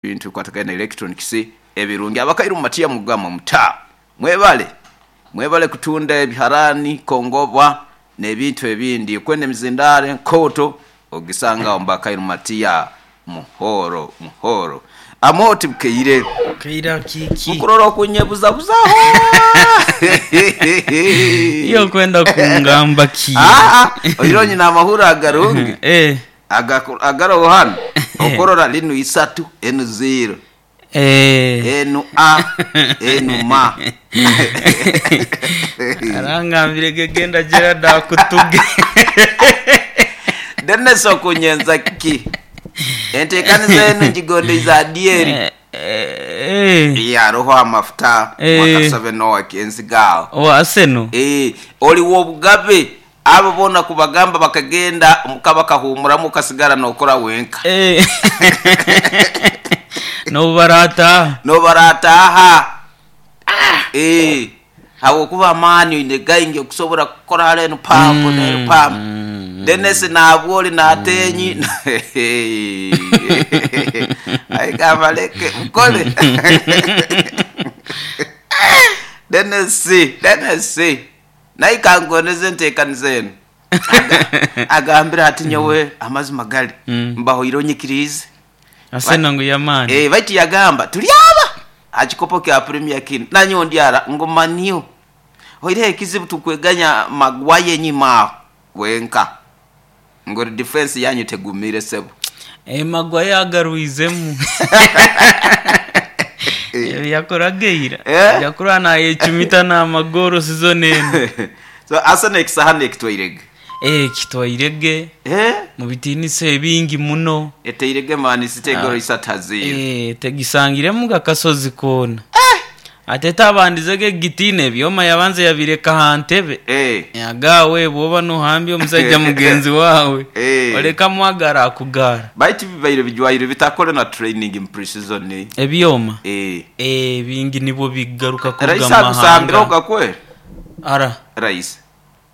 Ebintu ebikwatagaine na electronics ebirungi. Abakaire omu matiya mugamba muta? Mwebale, mwebale kutunda ebiharaani, kongoba n'ebintu ebindi. Okwenda emizindaaro enkooto ogisanga agho mu Bakaire mu Matiya. Muhooro, muhooro. Amooti bukaire. Kaire akiiki. Mukurora okunyebuzabuzaho. Iwe okwenda kungamba ki? Aa, oire onyine amahurire agarungi. Eh. Agaroho hanu okurora linu isatu enu ziiro, enu a enu ma. Arangambire ge genda Gerald akutuge. Dennis okunyenza ki? Entekaniza enu ngigondeize Adieri. Yaroho amafuta mwakasobe Noah Kenziga aho. Owa Arsenal? Oli w'obugabe Abo boona ku bagamba bakagenda omuka bakahuumuramu okasigara nookora wenka. N'obu baraataaha. N'obu baraataaha. Habw'okuba amaani oine gaingi okusobora kukora hare enu pampu n'eri pampu. Dennis naabwo ori naatenyi aye kambaleke mukore. Dennis, Dennis. Naye ka nkondeze enteekaniza eno. Agambire ati, Nyowe amazima gali, mbahoire onyikiriize. Arsenal ngu y'amaani. Eh, baitu yagamba, Turi aba aha kikopo kya Premier kinu, nanyowe ndi ara ngu Man U. Oihireho ekizibu tukweganya Maguire enyima aho wenka, ngu defence yanyu tegumire sebo. Eh, Maguire agarwizemu. Ebyo yakoraga eira. Eh? Aja kurora nayecumita n'amagoro season eno. So Arsenal ekisahani ekitwairege. Eh, kitwairege Eh? mu bitiinisa ebingi muno. Eteirege Man City egoro isatu ha ziiro. Eh, tegisangiremu gakasozi koona. Ate tabandizege egitiina ebyoma yabanza yabireka ha ntebe. Eh. Agaawe bw'oba nohambya omusaija mugenzi waawe, Eh. oleka mwagara akugara. Baitu bibaire bijwaire bitakore na training mu pre-season. Ebyoma? Eh. Eh, bingi nibwo bigaruka kuruga Raisi mu mahanga. agusambire ogakwera? Ara. Raisi.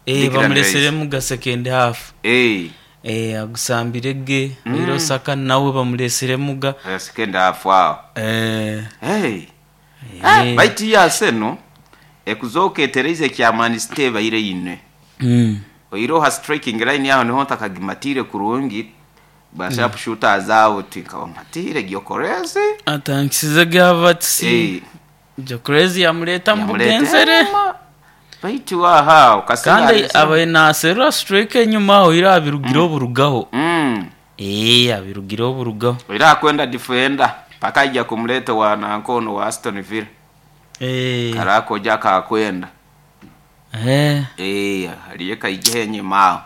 Eh, Declan Rice. bamuleseremu ga second half. Eh. Eh, agusambire ge. Oire Osaka nawe bamuleseremu ga. Second half awo. Eh. Hey. Baitu yo Arsenal ekuzooka etereize ekya Man City ebaire eine. Oihireho ha striking line aho niho ntakagimatiire kurungi, ba sharp shooters abo tinkabamatiire, Gyökeres. Atangisize ge Havertz, Gyökeres yamureeta mu bugenzere. Yamureeta baitu aha okasinga Kandi Arsenal. abaire naserura striker enyuma aho ira abirugireho burugaho. Eeh abirugireho burugaho. Oira akwenda defender paka aija kumuleta owa nanka ono owa Aston Villa. Kare akojo akakwenda. Eeh hariyo kaijeho enyima aho.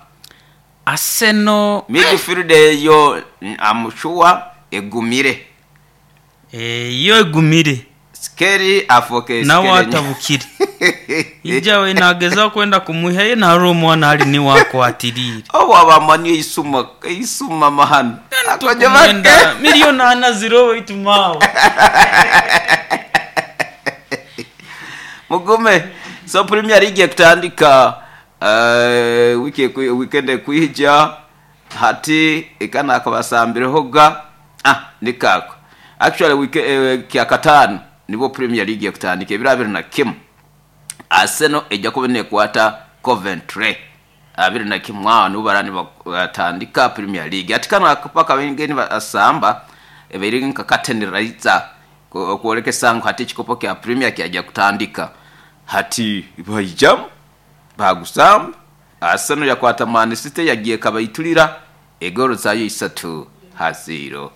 Arsenal. Midfield eyo am sure egumire. Eeh yo egumire. Skelly afooke Nawe Skelly. atabukire. Ija we nagezaho kwenda kumwihayo narora omwana ali niwe akwatiriire. Obu abamani eisuma eisuma mahano. Akojo bake. Tukumwenda milioni ana ziroho baitu maawe. Mugume. So Premier League ekutandika wiki weekend ekwija hati eka nakabasambireho ga ah nikaako. Actually week kyakataano nibwo Premier League ekutandika ebiro abiri na kimu. Arsenal eija kuba nekwata Coventry abiri na kimu agho nibo baraaba nibatandika Premier League. Hati kano akapaka abaingi nibasamba ebaire nka curtain raiser okwolekesa ngu hati ekikopo kya Premier kyaija kutandika. Hati baijamu baagusamba, Arsenal yakwata Man City yagyekabaiturira egoolo zaayo isatu ha ziiro.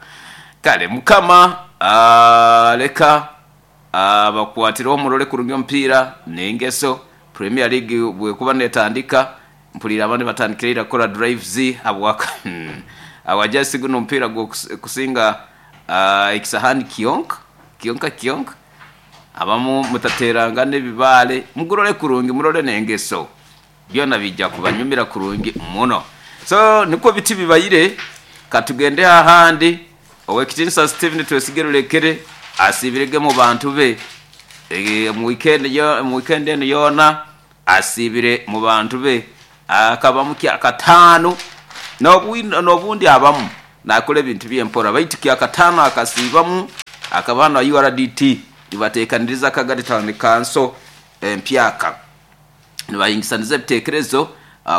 Kale Mukama leka abakwatireho murole kurungi omupiira n'engeso. Premier League bw'ekuba n'etandika, mpuliire abandi batandikire ira kukora drives habwa habwa just guno omupiira gw'okusinga ekisahani kyonka kyonka kyonka. Abamu mutateerangana ebibaale, mugurole kurungi murole n'engeso. Byona biija kubanyumira kurungi muno. So nikwo biti bibaire. Ka tugende ahandi. Ow'ekitiinisa Stephen Twesige Rurekere asiibirege mu bantu be mu wiikendi eno yoona asiibire mu bantu be. Akabamu kyakataanu n'obundi abamu. Naakora ebintu bye mpora baitu kyakataano akasiibamu akaba na URDT nibateekaniriza Kagadi Town Council empyaka nibahingisaniza ebiteekerezo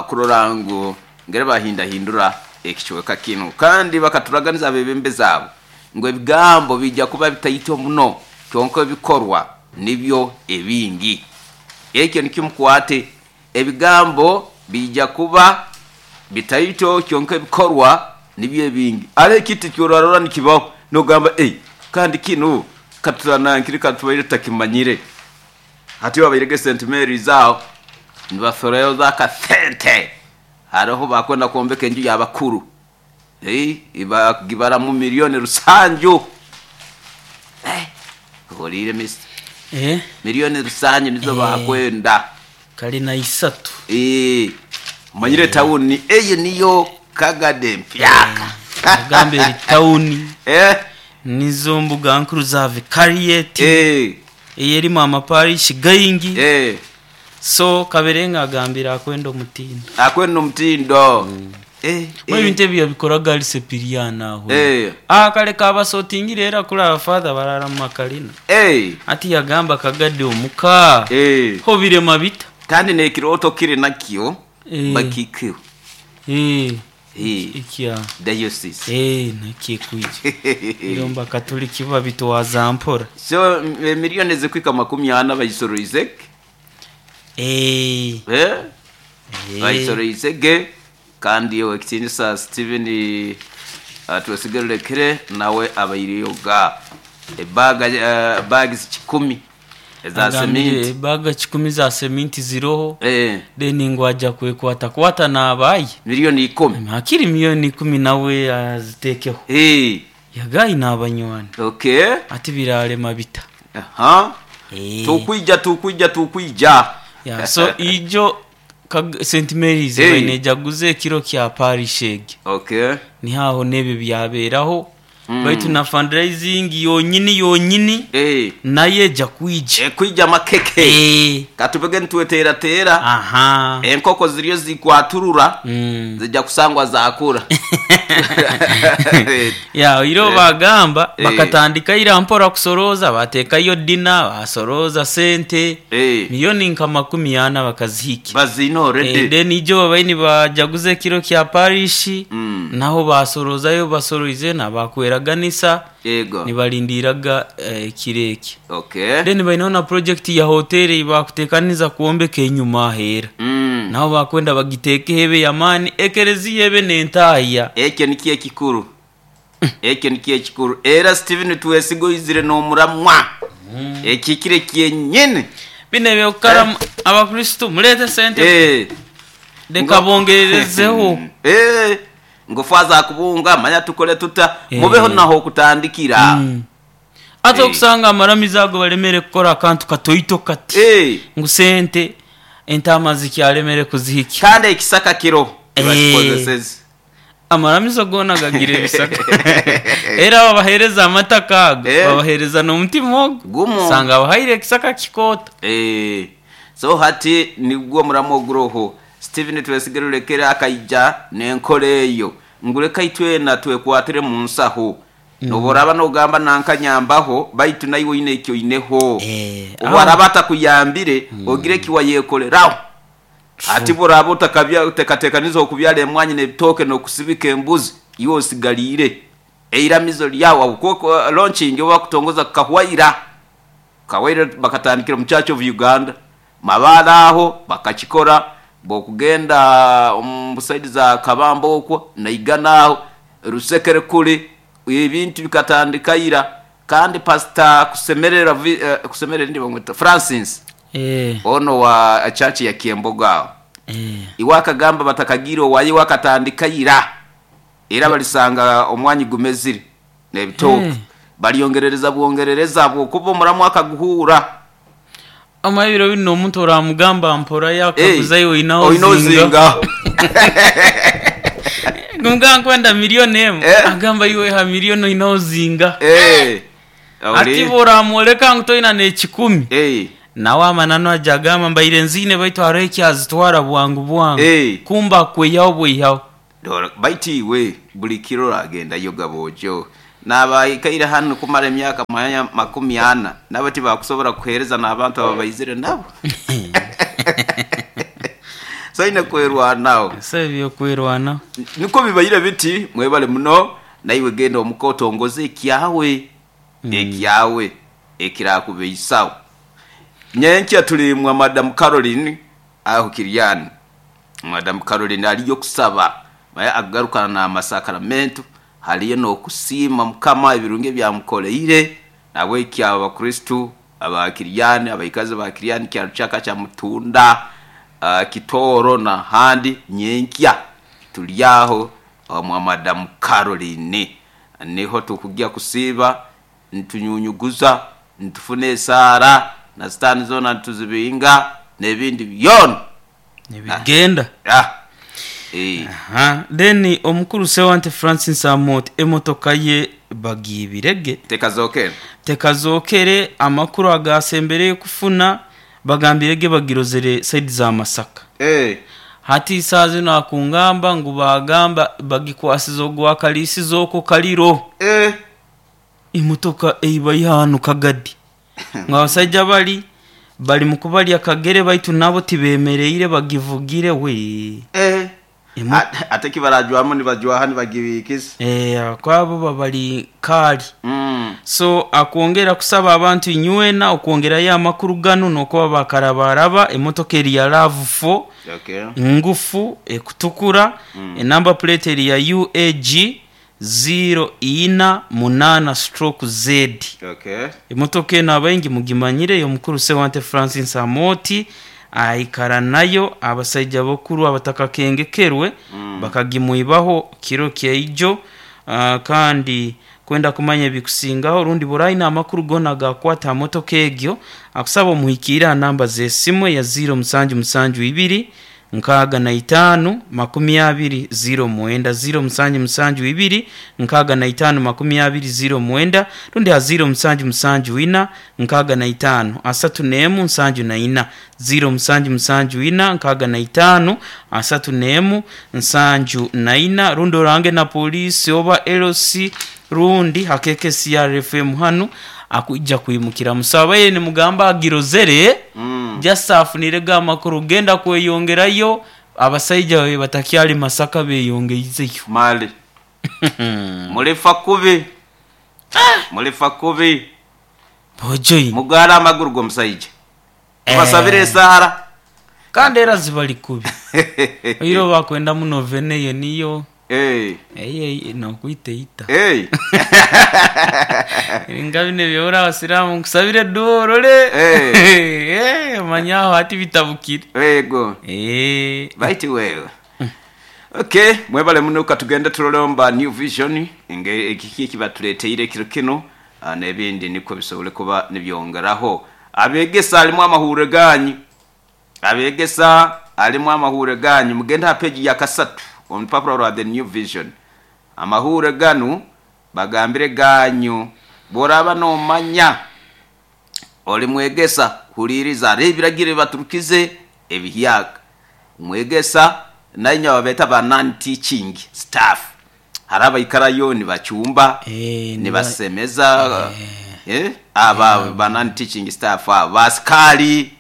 kurora ngu ngeri bahindahindura ekicweka kinu kandi bakaturaganiza abeebembezi abo ngu ebigambo biija kuba bitaito muno kyonka ebikorwa nibyo ebingi. Ekyo nikyo mukwate, ebigambo biija kuba bitaito kyonka ebikorwa nibyo ebingi. Hariho ekintu eki orarora nikibaho nogamba ei kandi kinu katunankire katubaire tutakimanyire. Hati babaire ge St Mary's aho nibasoroza akasente hariho bakwenda kwombeka enju y'abakuru bagibaramu milioni rusanju. Ohuriire Mister? Milioni rusanju nizo bakwenda. Kalina isatu. Omanyire tawuni eyo niyo Kagadi empyaka. Nagamba eri tawuni nizo mbuga nkuru za vikariyeti eyerimu amaparishi gaingi. So Kaberenge agambire akwenda omutindo. Akwenda omutindo. Mbwenu ebintu ebi yabikoraga ari Sepiriano aho. Kare kabasotingire era kuri aba father barara mu makalina. Hati yagamba Kagadi omuka ho birema bita? Kandi n'ekirooto kiri nakyo bakikeho. Ekya Diocese. Nakyo ekwija. Iromba Abakatuliki babitwaza mpora. So emiliyoni ezikuhika makumi ana bagisoroize ge. Bagisoroize ge kandi Owekitinisa Stephen Twesige Rurekere nawe abaireyo ga ebaga bags kikumi eza Agambire seminti. baga kikumi za seminti ziroho then ngu aja kwekwatakwata n'abaye. Miliyoni ikumi. Hakiri miliyoni ikumi nawe azitekeho. Yagayi n'abanywani. Ati birarema bita. Tukwija tukwija tukwija. Yeah, so ijo St Mary's baine ejaguza ekiro kya parish egi. Niho aho n'ebyo byaberaho. Baitu na fundraising yonyini yonyini nayo eja kwija. Ekwija amakeke. Katubege nitweteerateera. Enkoko ziriyo zikwaturura zija kusangwa zakura. Ya, iro bagamba bakatandika ira mpora kusoroza batekayo dina basoroza sente milioni nka makumi ana bakazihika. Bazina already. Then ijo babaire nibajaguza ekiro kya parish naho basorozayo basoroize nabakweraganisa nibarindiraga ekiro eki. Then baineho na project ya hoteri ei bakutekaniza kwombeka enyuma aheera. Naho bakwenda bagitekeho ebe y'amaani ekereziya ebe n'entahya. Ekyo nikyo ekikuru. Ekyo nikyo ekikuru. Era Steven Twesiga oizire n'omuramwa. Ekihikire kyenyini. Bino eby'okukara Abakristo mureete sente leka bongererezeho. Ngu faaza akubunga manya tukore tuta mubeho naho okutandikira. Hati okusanga amaramizo ago baremere kukora akantu katoito kati. Ngu sente entaama zikyalemere kuzihikya. Kandi ekisaka kiro bakikozeseze. Amaramizo goona gagira ebisaka. Era babahereza amataka ago babahereza n'omutima ogwo. Gumu. Osanga abahaire ekisaka kikooto. So hati nigwo omuramwa oguroho. Steven Twesige Rurekere akaija n'enkora eyo ngu leka itwena twekwatire mu nsaho. N'obu oraaba nogamba nanka nyambaho baitu naiwe oine eki oineho. Obu araaba atakuyambire ogire eki wayekoreraho. Hati obu oraaba otakateekanize okubyara emwanyi n'ebitooke n'okusibika embuzi, iwe osigaliire. Eiramizo ryawe ahabw'okuba launching obu bakutongoza kukahwaira. Kukahwaira bakatandikira omu Church of Uganda. Mabaale aho bakakikora, bw'okugenda omu saidi za Kabamba okwo, Naigana aho, Rusekere kuri, ebintu bikatandika ira. Kandi Pastor Kusemererwa, Kusemererwa ndi bamweta Francis, ono wa church ya Kyembogo aho. Iwe akagamba batakagiire owaye iwe akatandika ira. Era balisanga omwanyi gumezire n'ebitooke. Balyongerereza bwongerereza ahabw'okuba omuramu akaguhuura. Omanye ebiro binu omuntu oramugamba mpora yakaguza iwe oine Oine ozinga. ozinga. Kumugamba nkwenda milioni emu, agamba iwe ha milioni oine ozinga. Hati iwe oramworeka ngu toine n'ekikumi, nawe amananu aja agamba mbaire nziine baitu hariho eki azitwara bwangu bwangu. Kumbe akwihaho bwihaho. Dora, baitu iwe buli kiro oragendayo gaboojo. N'abaikaire hanu kumara emyaka manya 40 nabo tibakusobora kuheereza n'abantu ababaizire nabo. So oine kwerwanaho. So eby'okwerwanaho. Nukwo bibaire biti, mwebale muno. Naiwe genda omuka otongoze ekyawe, ekyawe ekirakubeisaho. Nyenkya tuli mwa Madam Caroline aho Kiriani. Madam Caroline aliyo kusaba, manya akugarukana n'amasakramentu, haliyo n'okusiima Mukama ebirungi ebi amukoleire. Nahabweki abo Abakristo aba Kiriani, abaikazi ba Kiriani, Kyarukyaka, Kyamutunda, Kitooro n'ahandi, nyenkya tuli aho omwa Madam Caroline. Niho tukugya kusiiba nitunyunyuguza, nitufuna esaara, na sitaani zoona nituzibinga, n'ebindi byona. Nibigenda. Ah, eh. Aha, then omukuru Sewante Francis Amooti emotoka ye bagiibire ge. Tekazookere. Tekazookere, amakuru agaasembereyo kufuna bagambire ge bagirozere side za Masaka. Eh. Hati saaha zinu akungamba ngu baagamba bagikwasize ogwa kaliisizo okwo Kaliro. Eh. Emotoka ei baiha ghano Kagadi. Ngu abasaija bali bali mu kubalya kagere baitu nabo tibemereire bagivugire wee. Eh. Emo- Ate kibarajwamu nibajwaha nibagibiikiza. Eh, kwabo babali kaali. Mm. So akwongera kusaba abantu inywena okwongerayo amakuru ganu n'okuba bakarabaraba emotoka eri ya Rav four Okay. ngufu ekutukura enamba plate eri ya UAG ziiro ina munaana stroke Z. Okay. Emotoka eno abaingi mugimanyire ey'omukuru Sewante Francis Amooti aikara nayo abasaija abakuru abatakakengekerwe bakagimwibaho kiro kyaijo kandi kwenda kumanya ebikusingaho rundi bwora aine amakuru gona agakwata aha motoka egyo akusaba omuhikiire aha namba z'esimu eya ziiro musanju musanju ibiri nkaaga na itaanu makumi abiri ziiro mwenda, ziiro musanju musanju ibiri nkaaga na itaanu makumi abiri ziiro mwenda, rundi ha ziiro musanju musanju ina nkaaga na itaanu asatu n'emu nsanju na ina, ziiro musanju musanju ina nkaaga na itaanu asatu n'emu nsanju na ina, rundi orange na poliisi oba LC rundi ha KKCR FM hanu akwija kwimukira musaba ye nimugamba agirozere just afunirege amakuru genda kweyongerayo abasaija babe batakyali Masaka beyongeizeyo. Mali. Mulifa kubi. Mulifa kubi. Bojoine. Mugware amaguru g'omusaija. Tubasabire esaara. Kandi era zibali kubi. Oiro bakwenda muno veneyo niyo. Eh. Eye nokwita eita. Eh. Nga bino ebyobura abasiraamu nkusabire eduwa orole. Eh. Eh, omanye aho hati bitabukire. Yego. Eh. Baiti wewe. Okay, mwebale muno katugende turolomba New Vision nge ekiki ekibatuleteire ekiro kino n'ebindi nikwo bisobole kuba nibyongeraho. Abegesa alimu amahure ganyu. Abegesa alimu amahure ganyu. Mugende ha page ya kasatu omu rupapura rwa The New Vision. Amahure ganu bagambire ganyu. Bworaba nomanya oli mwegesa huliriza hariho ebiragiro ebibaturukize ebihyaka. Mwegesa nainywe ababeeta ba non-teaching staff. Hariho abaikarayo nibacumba, nibasemeza, aba ba non-teaching staff abo, basikaali,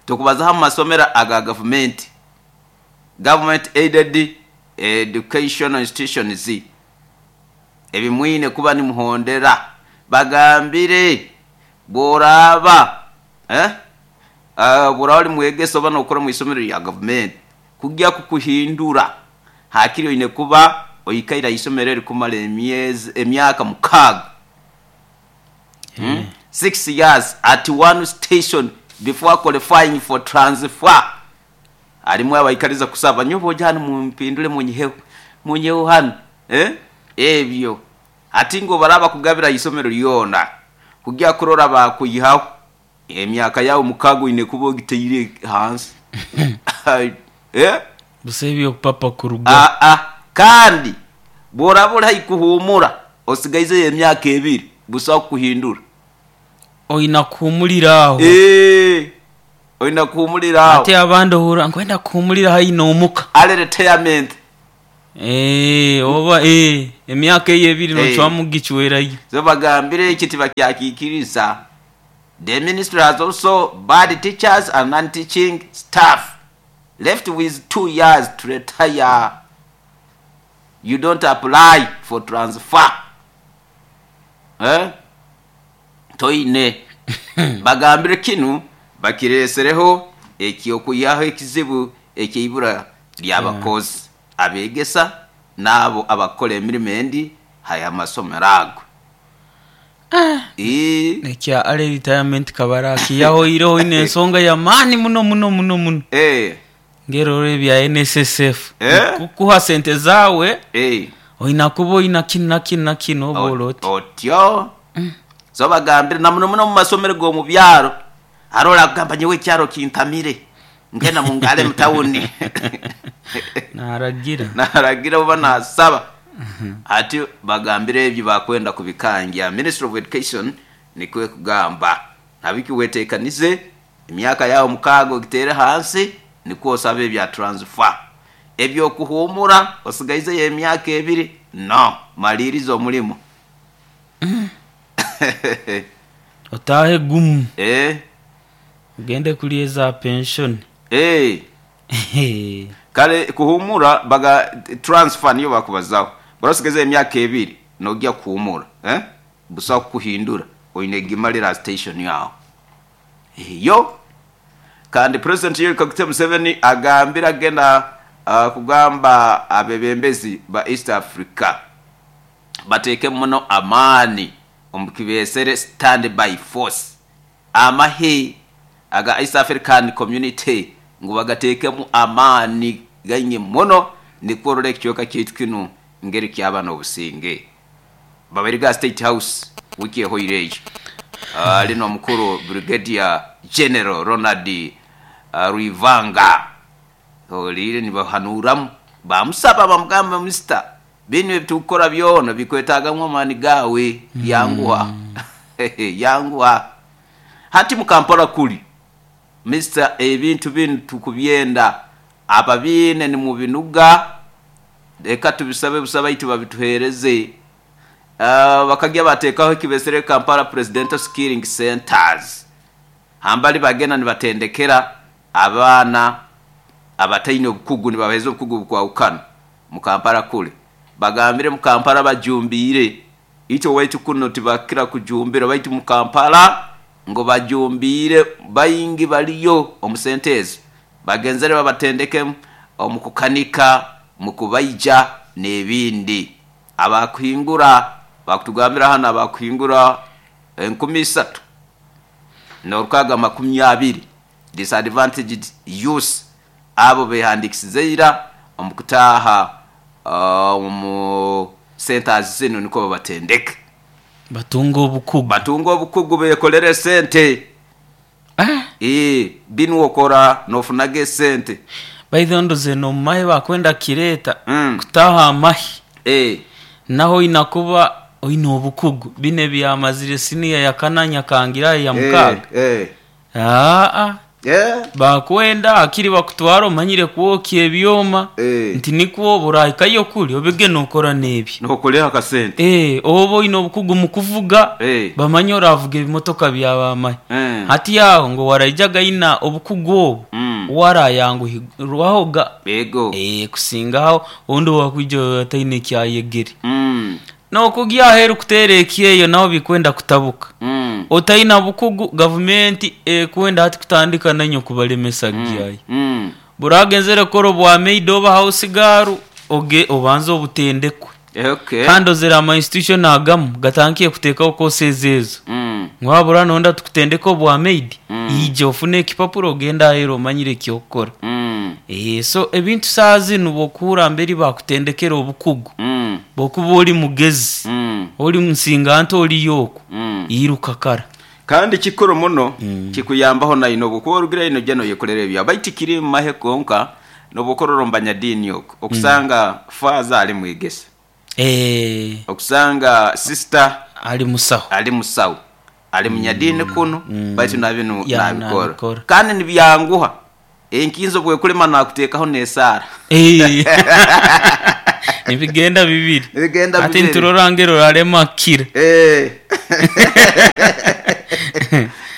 tukubazaho omu masomero aga gavumenti, government aided educational institutions, ebi mwine kuba nimuhondera. Bagambire bw'oraaba, bw'oraaba ori mwegesa oba nookora omu isomero rya gavumenti, kugya kukuhindura haakiri oine kuba oikaire aha isomero eri kumara emyezi emyaka mukaaga. 6 years at one station before qualifying for transfer. Harimu abaikariza kusaba nyowe oje hanu mumpindure munyiheho munyiheho hanu ebyo hati ngu baraba bakugabira aha isomero ryona kugya kurora bakuyihaho emyaka yawe mukaaga oine kuba ogiteire hansi. Busa eby'okupapa kuruga. Aa, kandi bw'oraba ori haihi kuhuumura osigaizeyo emyaka ebiri busaho kukuhindura. Oina kuhuumurira aho. Eeh, oina kuhuumurira aho. Hati abandi ohurra nkwenda kuhuumurira haihi n'omuka. Early retirement. Eeh oba eeh emyaka eyo ebiri nocwamu kugicwerayo. So bagambire eki tibakyakikiriza. The ministry has also barred teachers and non-teaching staff left with 2 years to retire. You don't apply for transfer. Eh? Toine. Bagambire kinu bakiresereho eky'okwihaho ekizibu eky'eibura ly'abakozi, abegesa n'abo abakukora emirimo endi ha masomero ago. Ii. Ekya early retirement kabarakiihaho iroho ino ensonga y'amaani muno muno muno muno. Ngera orora ebya NSSF kukuha sente zaawe oina kuba oina kinu na kinu na kinu oba ori oti. Otyo. So bagambire na muno muno omu masomero g'omu byaro, hariho orakugamba nyowe ekyaro kintamire, ngenda mungare mu tawuni. Naragira. Naragira oba nasaba. Hati bagambire ebyo bakwenda kubikangya. Ministry of Education nikwo ekugamba. Nabiki wetekanize, emyaka yaawe mukaaga ogiteere hansi nikwo osabe ebya transfer. Eby'okuhuumura osigaizeyo emyaka ebiri, no, maliiriza omulimo. Otaahe gumu. Ogende kulya eza penshoni. Kale kuhuumura baga transfer niyo bakubazaho. Bw'oraba osigaizeyo emyaka ebiri nogya kuhuumura, busaho kukuhindura, oine kugimalira ha station aho. Yo kandi President Yoweri Kaguta Museveni agambire agenda kugamba abebembezi ba East Africa bateekemu muno amaani omu kibesere Stand By Force, amahe aga East African Community ngu bagateekemu amaani gaingi muno nikwo orole ekicweka kyaitu kinu ngeri kyaba n'obusinge. Babaire ga State House wiiki ehoire eyo ali n'omukuru Brigadier General Ronald Rwivanga. Oriire nibahanuuramu bamusaba bamugamba Mister binu ebitukukora byona bikwetagamu amaani gaawe yanguha yanguha. Hati mu Kampala kuri Mister ebintu binu tukubyenda ababiine nimubinuga leka tubisabe busa baitu babituhereze. Bakagya batekaho ekibesere Kampala Presidential Skilling Centers hambali bagenda nibatendekera abaana abataine obukugu nibabahereza obukugu obukwahukana mu Kampala kule. Bagambire mu Kampala bajumbiire itwe owaitu kunu tibakira kujumbira baitu mu Kampala ngu bajumbiire baingi baliyo omu sente ezo bagenzere babatendeke omu kukanika, mu kubaija n'ebindi. Abakuhingura bakutugambira hanu abakuhingura 3000 n'amakumi abiri disadvantaged youth abo behandikisize ira omu kutaaha omu centers zinu nikwo babatendeke. Batunge obukugu. Batunge obukugu bekolere sente. Binu okora nofunaga esente. By the way ndhooza eno omu mahe bakwenda kukireeta kutaaha amahe naho oina kuba oine obukugu. Binu ebyamazire siniya yakana nyakangira aye ya mukaaga aa bakwenda hakiri bakutware omanyire kwokya ebyoma nti nikwo bw'orahikayo kuri obege nokora n'ebyo. Nokoreho akasente. Oba oine obukugu mu kuvuga bamanye oravuga ebimotoka bya bamahe. Hati aho ngu owaraijaga aine obukugu obwo uwe arayanguhirwahoga kusingaho ondi owakwija ataine kyayegere. N'okugya aheeru kuteera ekyeyo naho bikwenda kutabuka. Otaine bukugu gavumenti ekwenda hati kutandika nainywe kubalemesa kugyayo. Bw'oragenzere kukora obwa maid oba house girl obanze obutendekwe. Kandi ozire ama institution agamu gatandikire kuteekaho courses ezo. Ngu wabura noyenda tukutendeke obwa maid, ija ofune ekipapura ogende aheeru omanyire eky'okukora. So ebintu saaha zinu bw'okuhurra mberi bakutendekere obukugu, bw'okuba ori mugezi, ori musinganto oriyo okwo, iruka kara. Kandi kikuru muno kikuyambaho naine obwokuba orugire noija noyekorera ebyawe baitu tikiri mu mahe konka nobwokurora omu banyadiini okwo okusanga faaza ali mwegesa, okusanga sisita Ali musaho. Ali musaho, ali munyadiini kunu baitu na binu Ya, nabikora nabikora. kandi nibyanguha enkinzo obwekulema nakuteekaho n'esaara. Nibigenda bibiri. Nibigenda Ati bibiri. nturora ngero orarema kukira. Eh.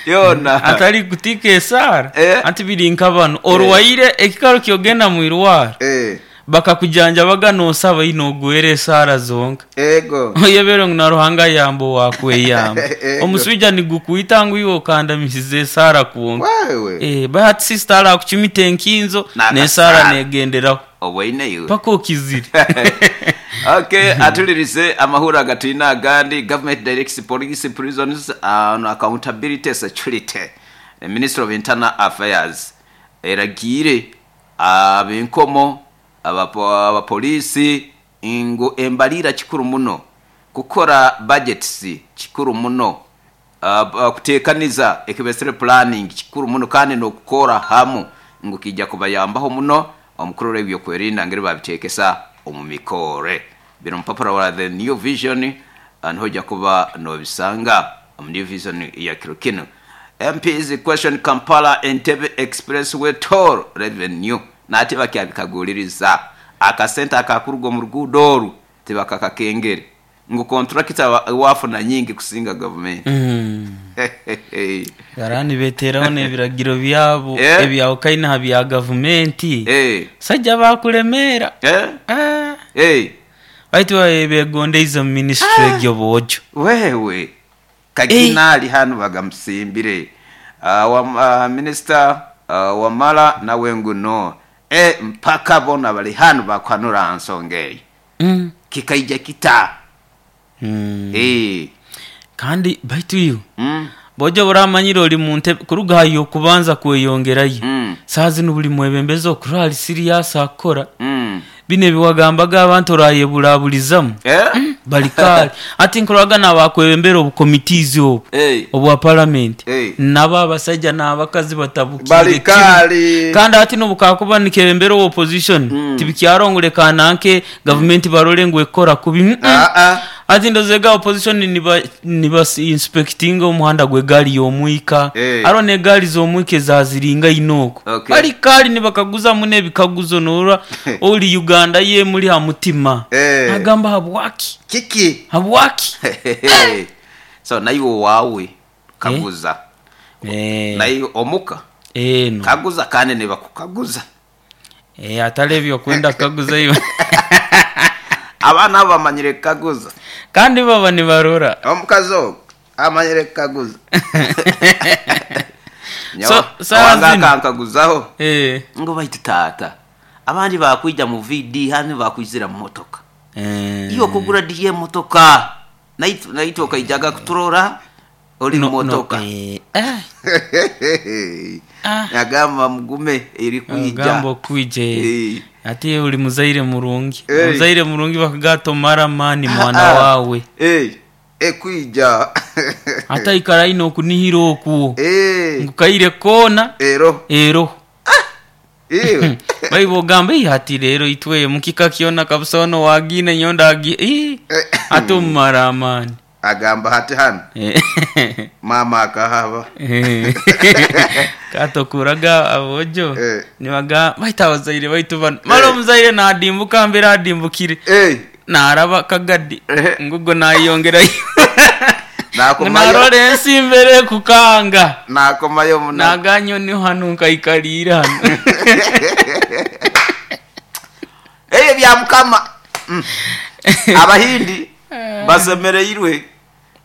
Yona. Atari kutika esaara. Eh. Ati biri nka banu orwaire ekikaro kyogenda mu irwaro. Eh. Bakakujanjabaga nosaba ino ogwere esaara zonka. Ego. Oyebere ngu na Ruhanga yamba owakweyamba. Ego. Omuswija nigukwita ngu iwe okandamisize esaara kwonka. Wewe. Eh, but sister arakucumita enkinzo N'akasaara. n'esaara negenderaho. Obwaine iwe. Paka okizire. Okay, atulirize amahura agatulina agandi. Government directs police, prisons on accountability, security. The Minister of Internal Affairs eragiire abenkomo, abapolisi ngu embalira kikuru muno, kukora budgets kikuru muno, kutekaniza ekibesere planning kikuru muno, kandi n'okukora hamu ngu kijja kubayambaho muno omukurora ebyokwerinda ngeri babitekesa omu mikore. Bino mupapura wa The New Vision, niho ojja kuba nobisanga omu New Vision ya kiro kino. MPs question Kampala Entebbe Expressway toll revenue, nate bakyabikaguliriza akasente akakuruga omu ruguudo oru tibakakakengere ngu contractor wafuna nyingi kusinga gavumenti. Barani beteraho n'ebiragiro byabo Eh. ebyawukaine ha bya gavumenti. Eh. Sajja bakulemeera. Eh. Ah. Eh. Baitu begondeize mu ministry egyo bwojo. Wewe kagina ali hano bagamusimbire. Minister Wamala nawe nguno mpaka bona bali hano bakwanura nsonga eyo. Kikaija kita. Eh. Kandi baitu iwe bojo buramanyire ori mu ntebe kuruga hayo kubanza kweyongerayo. Saa zino buli mwebembezi okura ali serious akora. Bino ebiwagambaga abantu orayeburabulizamu. Eh? Bali kale ati nkoraga nabakwebembera obukomitizi obu Eh. obwa parliament. Eh. Nabo abasajja n'abakazi batabukire Bali kimwe. kale. Kandi ati nobukakuba nikebembera opposition tibikyarongore kananke gavumenti barore ngu ekora kubi. Ah, ah. Ati ndozega opposition niba inspecting omuhanda gw'egaari y'omwika. Eh. Aro n'egaari z'omwika ezaziringa inoko. Okay. Bali kali nibakaguza mune ebikaguzo norora ori Uganda ye muri ha mutima. Eh. Agamba habwaki? Kiki? Habwaki? So naiwe wawe kaguza. Eh. Naiwe omuka. Eh, no. Kaguza kandi nibakukaguza. Eh, atari ebyo kwenda kaguza iwe. Abaana abo bamanyire kukaguza. Kandi baba nibarora. Omukazi ogwo amanyire kukaguza. So, saa Wanga zino. akankaguzaho. Eh. Ngo baitu taata abandi bakwija mu VD handi bakwizira mu motoka. Eh. Iyo kugura diye motoka naitu okaijaga kuturora ori No, mu motoka. no, eh. Eh. Ah. Yagamba mugume eri kwija. Agamba okwija. Eh. Ati uri muzaire murungi. Eh. Muzaire murungi bakagato mara mani mwana Ah, ah. wawe. Eh. Ekwija. Ata ikara ino okunihira okwo. Eh. Ngukaire kona Ero. ero. Iwe. Baibo ogamba ati rero itwe mukika kyona kabisa ono wagine nyonda agi. Eh. Ate omumara amani. Agamba hati hano. Eh. Mama akahaba. Eh. Katokuraga abojo Eh. nibaga baita abazaire baitu bano mara omuzaire nadimbuka mbere adimbukire Eh. naraba kagadi Eh. ngugo nayongerayo. Nakomayo. Narora ensi mbere kukanga. Nakomayo muna. Naganyo ni hano nkaikalira hano. Ebyo bya mukama. Abahindi basemereirwe.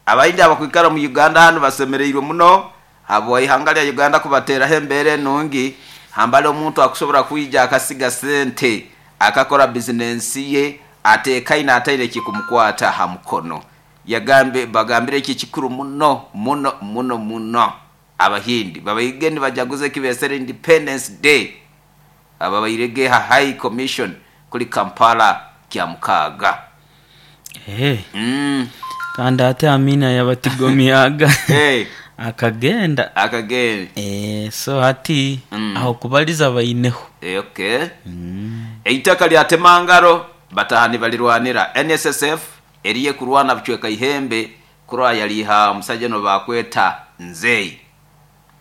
Abahindi abakwikara mu Uganda hano basemereirwe muno. Abo ihanga lya Uganda kubateraho embere nungi. Hambale omuntu akusobora kwija akasiga sente akakora business ye atekaine ataire kikumukwata ha mukono. Yagambe bagambire iki kikuru muno muno muno muno. Abahindi babaigeni bajaguze kibesere Independence Day. Aba bairege ha High Commission kuri Kampala kya mukaga. Eh. Kandi ate Amina yabatigomyaga. Hey. Akagenda. Akagenda. Eh, so ati aho kubaliza baineho. Eh, okay. Eitaka lya Temangaro batahani balirwanira NSSF eriye kurwana bucweka ihembe kurwa yaliha omusajja no bakweta nzeyi.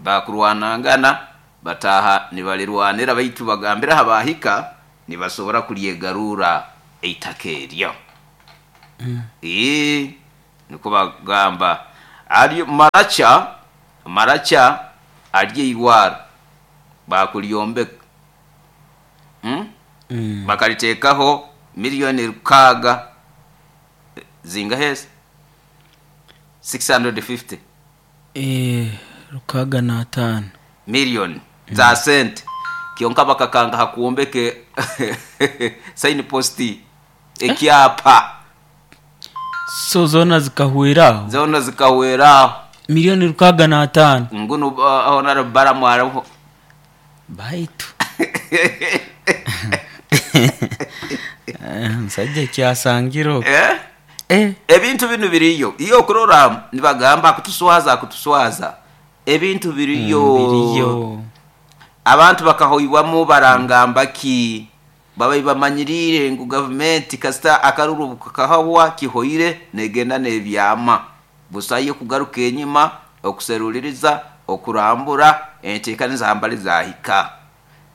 Bakurwanangana bataha nibalirwanira baitu bagambira habahika nibasobora kulyegarura. eitaka eryo. Ii, nikwo bagamba. Ali Maracha, Maracha ali eirwaro baakulyombeka. Hmm? Bakaliteekaho milioni lukaaga zingaha ezo? 650. Eeh, lukaaga n'ataano. Milioni za sente. Kyonka bakakanga ha kwombeka sign post, ekyapa. So zoona zikahwera aho? Zoona zikahwera aho. Milioni lukaaga n'ataano. Ngunu Honourable Balaam ariho. Baitu. Omusaija ekyasangire okwo. Eh? Eh. Ebintu binu biriyo. Iwe okurora nibagamba akutuswaza akutuswaza. Ebintu biriyo. Biriyo. Abantu bakahoibwamu barangamba ki? Babaire bamanyiriire ngu gavumenti kasita akaruru kakahwa kihoire negenda nebyama. Busayo kugaruka enyima, okuseruliriza, okurambura, entekaniza hambali zahika.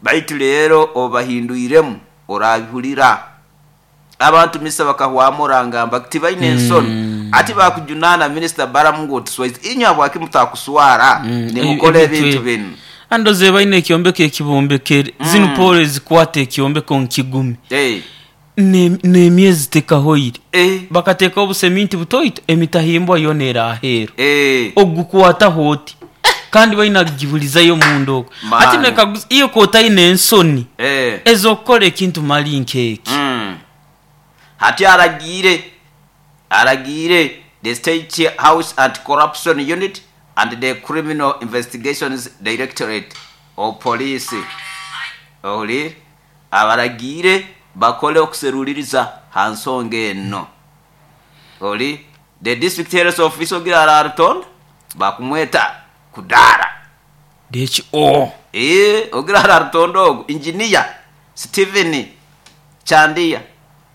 Baitu leero obahindwiremu orabihurira. Abantu misa bakahwamu orangamba tibaine ensoni. Ati bakujunaana Minisita Balaam ngu otuswaize. Inywe habwaki mutakuswara nimukora ebintu binu? Andoze baine ekyombeko ekibombekere. Zinu poolo ezikwata ekyombeko ngu kigume. N'emyezi tekahoire. Bakateekaho obuseminti butoito emitahimbwa yoona eri aheeru. Ogukwataho oti kandi baine kugibulizayo munda okwo. Hati nekaguza iwe k'otaine ensoni ez'okukora ekintu mali nk'eki. Hati aragiire aragiire the State House Anti-Corruption Unit and the Criminal Investigations Directorate of Police ohuriire abaragiire bakole okuseruliriza ha nsonga eno. Ori the District Health Officer ogira ararutonda bakumweta kudaara. DHO. Eeh ogira ararutonda ogu Engineer Stephen Chandia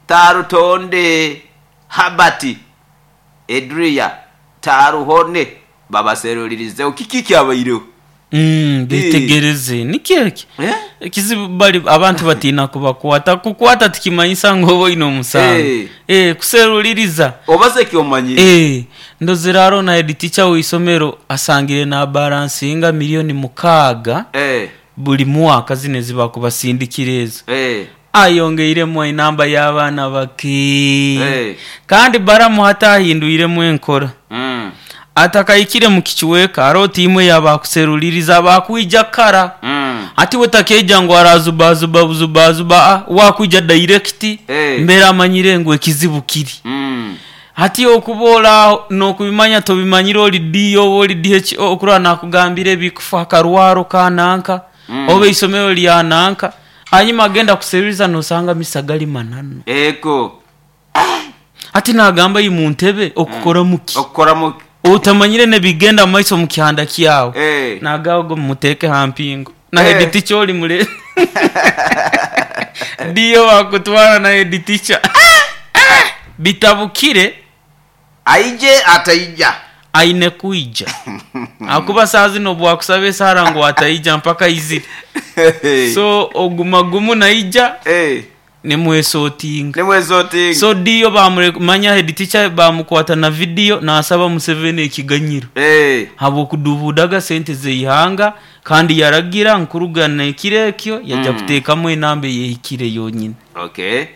Tarutonde Herbert Edria Taruhone babaserulirizeho kiki ekyabaireho. Betegereze. Nikyo ekyo. Ekizibu bali abantu batiina kubakwata. Kukwata tikimanyisa ngu oba oine omusango. Kuseruliriza. Obaze ky'omanyire. Ndozire haroho na head teacher w'eisomero asangire nabalansinga milioni mukaaga buli mwaka zino ezibakubasindikira ezo. Ayongeiremu enamba y'abaana bake. Kandi Balamu hati ahindwiremu enkora. Atakahikire mu kicweka, haroho tiimu ey'abakuseruliriza abaakwija kara. Hati we takeija ngu arazubazuba buzubazuba, aa, we akwija dairekiti mbere amanyire ngu ekizibu kiri. Hati okuba ori aho n'okubimanya tobimanyire ori DO oba ori DHO okurora nakugambira ebikufa ha karwaro ka nanka oba eisomero lya nanka, hanyuma agenda kuseruriza nosanga misa gali mananu. Ego. Hati nagamba i muntebe okukoramu ki? Okukoramu ki? Otamanyire n'ebigenda mu maiso mu kihanda kyawe. Nagamba ogu mumuteeke ha mpingo. Na head teacher ori mure. DO bakutwara na head teacher. Bitabukire. Aije ataija. Aine kwija. Ahakuba saaha zinu obu wakusaba esaara ngu ataija mpaka aizire. So oguma gumu naija nimwesotinga. Nimwesotinga. So DO bamureka manya head teacher bamukwata na video nasaba Museveni ekiganyiro habw'okudubuudaga sente z'eihanga kandi yaragira ngu kuruga n'ekiro ekyo yaija kuteekamu enamba ey'ehikire yonyini. Okay.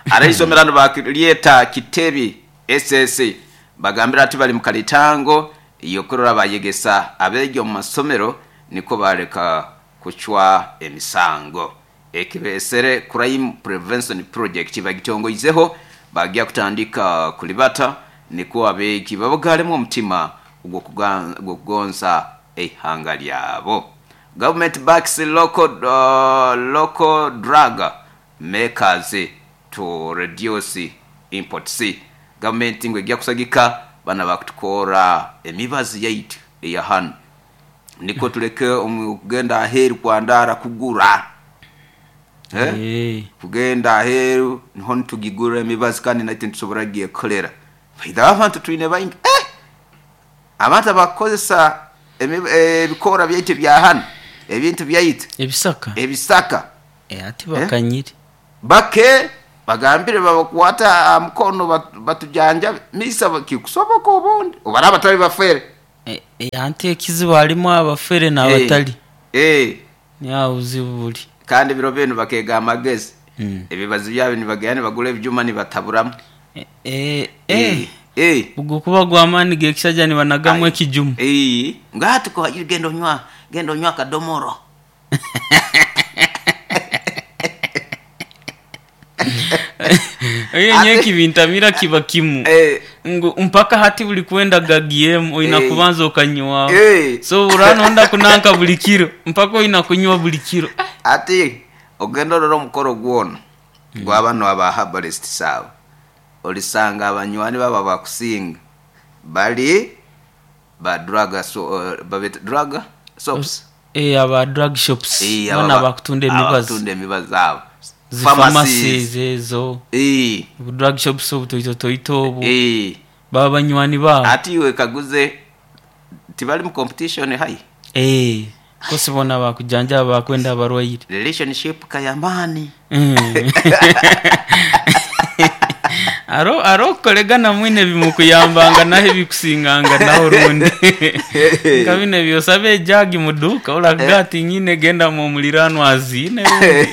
Abeisomero nibalyeta Kitebi SS bagambire ati bali mu kalitango y'okurora bayegesa abeegi omu masomero nikwo bareka kucwa emisango. Ekibesere Crime Prevention Project bagitongoizeho bagya kutandika kulibata nikwo abeegi babagaremu omutima ogw'okugonza eihanga lyabo. Government backs local local drug makers to reduce imports. Gavumenti ngu egya kusagika bano abakutukoora emibazi yaitu eya hanu nikwo tuleke okugenda aheeru kwandaara kugura. Kugenda aheeru niho nitugigura emibazi kandi naitwe nitusobora kugyekolera. Baidha abantu twine baingi abantu abakukozesa ebikoora byaitu ebya hanu, ebintu byaitu. Ebisaka. Ebisaka. Ati bakanyire. Bake. Bagambire babakwate aha mukono batujanjabe. Misa kikusoboka obundi obu baraaba batali bafere. Anti ekizibu halimu abafere n'abatali. Niho aho obuzibu buli. Kandi ebiro binu bakeega amagezi. Ebibazi byabo nibagenda nibagura ebijuma nibataburamu. Gukuba gw'amaani g'ekishaija nibanagamu ekijuma. Ngu hati genda onywa, genda onywa akadomoro. Oye nyowe ekibintamira kiba kimu ngu mpaka hati buri kwenda gagiemu oina kubanza okanywaho. So oraba noyenda kunanka buri kiro mpaka oina kunywa buri kiro. Hati ogenda orore omukoro gwona gwa banu aba herbalists abo, orisanga abanywani babo abakusinga bari ba drug babeta drug soaps? Aba drug shops boona abakutunda emibazi. Abakutunda emibazi abo. Zi pharmacies ezo, bu drug shops obutoitotoito obu, baba banywani baabo. Hati iwe wekaguze tibari mu competition haihi? Course boona bakujanjaba bakwenda abarwaire. Relationship ka y'amaani. Hariho okukoregana mwine ebimukuyambanga naho ebikusinganganaho orundi. Nka binu eby'osaba ejaagi mu duuka orakugira ati nyine genda mu omuliraanwa aziine rundi.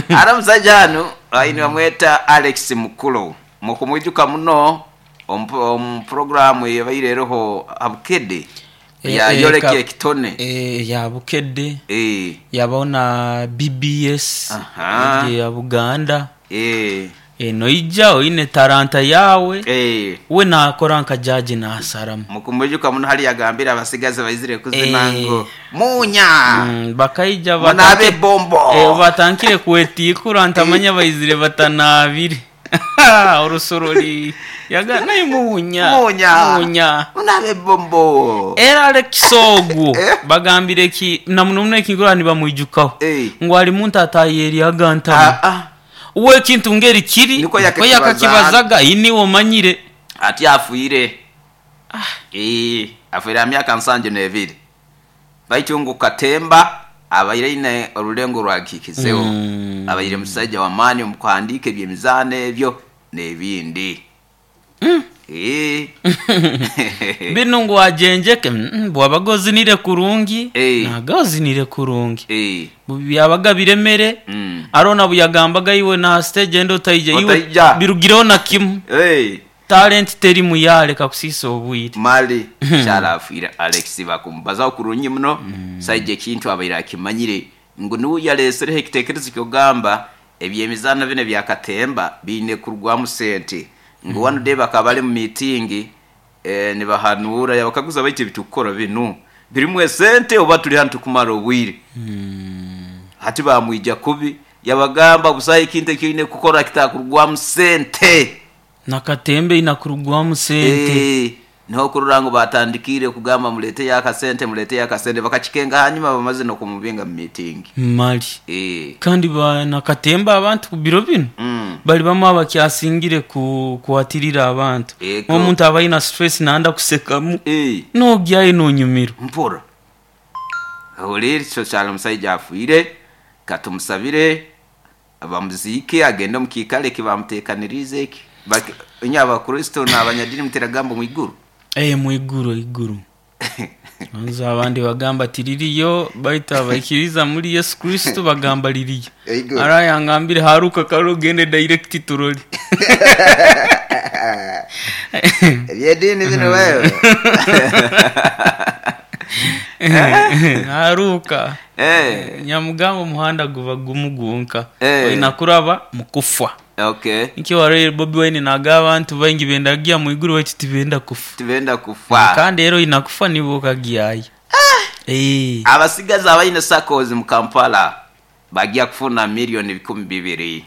Hariho omusaija hanu nibamweta Alex Mukulu. Mukumwijuka muno omu puroguraamu eyabaire eriho ha Bukedde eya Yoreka Ekitone. Eya Bukedde, yabaho na BBS egyo eya Buganda. Noija oine taranta yaawe, we naakora nka jaaji naasaramu. Mukumwijuka muno hariya agambire abasigazi baizire kuzina ngu Munya! Bakaija Munaabe ebombo! Batandikire kwetiikura ntamanya baizire batanaabire. Orusorori yaga naye munya. Munya. Munya. Munabe bombo. Era Alex ogwo bagambire ki na muno muno ekinkurora nibamwijukaho ngu ali muntu atayeryaga ntamu. We ekintu ngeri kiri Nikwo nikwo yakakibazaga. yakakibazaga aye niiwe omanyire. Ati afiire. Afiire aha myaka nsanju n'ebiri. Baitu ngu Katemba abaire aine orulengo orwagihikizeho. Abaire musaija w'amaani omu kuhandiika eby'emizaano ebyo n'ebindi. Binu ngu agyengyeke, bwabaga ozinire kurungi, naga ozinire kurungi. Byabaga biremere, haroho na buyagambaga iwe n'aha siteegi endi otaija, iwe birugireho na kimu. Talent terimu yaleka kusiisa obwire. Mali kyaro afiire Alex bakumubazaho kurungi muno saija ekintu abaire akimanyire ngu niwe yalesereho ekitekerezo kyokugamba ebyemizano binu ebya katemba biine kurugwamu sente ngu one day bakaba bari mu meeting nibahanuura yabakaguza baitu ebitukukora binu birimu esente oba turi hanu tukumara obwire hati bamwija kubi yabagamba busaho ekintu ekyoine kukora kitakurugwamu sente. Na katemba eine kurugwamu sente. Eeh, niho okurora ngu baatandikiire kugamba mureeteyo akasente, mureeteyo akasente, bakakikenga hanyima bamaze n'okumubinga mu miitingi. Mali. Eeh. Kandi ba na katemba abantu ku biro binu bali bamwe abakyasingire ku kwatirira abantu. Ego. Omuntu aba aine stress nayenda kusekamu, Eeh. nogyayo nonyumirwa. Mpora. Hurira, ekyo kyali omusaija afiire, katumusabire. Bamuziike agende omu kiikaro eki baamuteekaniriize eki. Inywe Abakristo n'abanyadiini muteragamba omu iguru? Ee, mu iguru, eiguru. Gonza abandi bagamba tiririyo, baitu abaikiriza muri Yesu Kristo bagamba ririyo. Eiguru. Hariho ayangambire haruka kare ogende direct turore. Eby'ediini binu wewe. Haruka. Eh. Nyamugamba omuhanda guba gumu gwonka. Eh. Oina kuraba mu kufa. Okay. Nikyo wareire Bobi Wine nagamba abantu baingi benda kugya mu iguru baitu tibenda kufa. Tibenda kufa. Kandi era oina kufa nibwo okagyayo. Eh. Abasigazi abaine SACCOs mu Kampala bagya kufuna million 2,000.